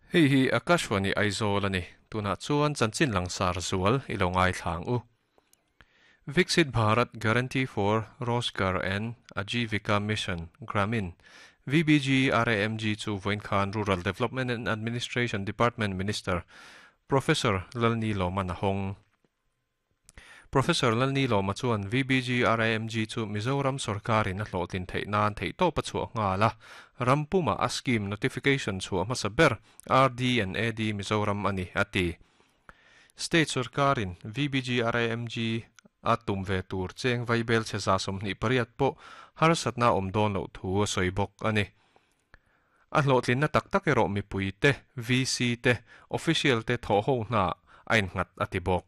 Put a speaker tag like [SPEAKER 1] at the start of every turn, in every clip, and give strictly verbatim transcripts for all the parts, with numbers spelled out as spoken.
[SPEAKER 1] Hei hi Akashwani Aizawl ani tuna chuan chanchin langsar zual ilo ngai thlang u. Viksit Bharat Guarantee for Rozgar and Ajeevika Mission Gramin V B G R A M G chu voin khan Rural Development and Administration Department Minister Professor Lalni Lawman a hawng. Professor Lalni Lawma chuan V B G R A M G chu Mizoram sarkarin a hlawhtlin theih nan theih tawp a chhuah nghal a. Rampuma a scheme notification chhuah hmasa ber R D and A D Mizoram ani ati. State sarkarin V B G R A M G a tum ve tur cheng vaibel che za sawmhnih pariat pawh harsatna awm dawn loh thu a sawi bawk ani. A hlawhtlin na tak tak erawh mipui te, V C te, official te thaw ho hna a innghat ati bawk.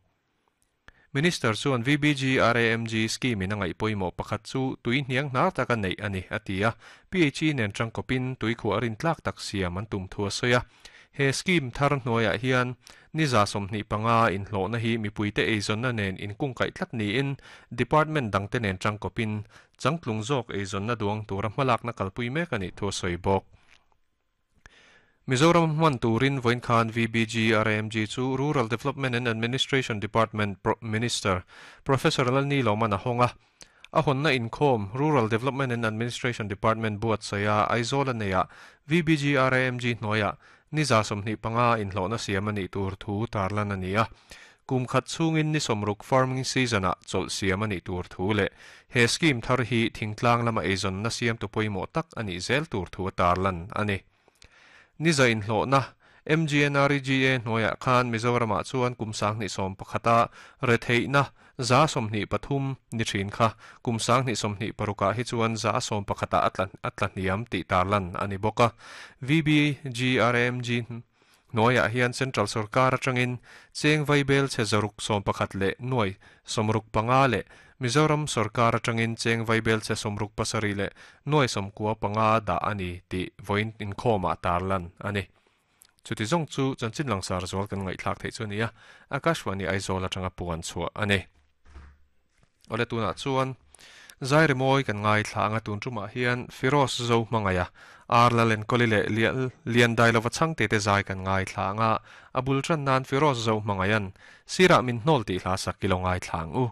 [SPEAKER 1] Minister chuan V B G R A M G scheme in a ngaih pawimawh pakhat chu tui hniang hnar taka neih ani ati a. P H E nen tangkawpin tui khuah rin tlak tak siam an tum thu a sawi a. He scheme thar hnuaiah hian niza sawmhnih panga inhlawhna hi mipuite eizawnna nen inkungkaih tlat niin department dangte nen tangkawpin changtlung zawk eizawnna duang tura hmalakna kalpui mek ani thu a sawi bawk. Mizoram hman turin voin khan V B G R A M G chu Rural Development and Administration Department Minister Professor Lalni Lawman a hawng a. A hawnna inkhawm Rural Development and Administration Department buat saia Aizawl a neia V B G R A M G hnuaiah niza sawmhnih panga inhlawhna siam ani tur thu tarlan ani a. Kum khat chungin ni sawmruk farming season a chawlh siam ani tur thu leh he scheme thar hi thingtlang lama eizawnna siam tu pawimawh tak ani zel tur thu tarlan ani. Niza inhlawhna M G N R E G A hnuaiah khan Mizoramah chuan kum sanghnih sawm pakhata retheihna za sawmhnih pathum ni thin kha kum sanghnih sawmhnih parukah hi chuan za sawm pakhata atla atla hniam tih tarlan ani bawk a. V B G R A M G hnuaiah hian Central Sarkar atangin cheng vaibel che zaruk sawm pakhat leh nuai sawmruk panga leh Mizoram Sarkar atangin cheng vaibel che sawmruk pasarih leh nuai sawmkua panga dah ani tih vawiin inkhawmah tarlan ani. Chuti zawng chu chanchin langsar zual kan ngaihthlak theih chu ania Akashwani Aizawl atanga puan chhuah ani. Awle tunah chuan zairi mawi kan ngai thla anga tun tumah hian Firoz Zo hmangaya Ar Lalen Koli leh lian dai lova changte te zai kan ngai thla anga abul tran nan Firoz Zo hmangayan sirah min hnawl tih hla sak kilo ngai thlang u.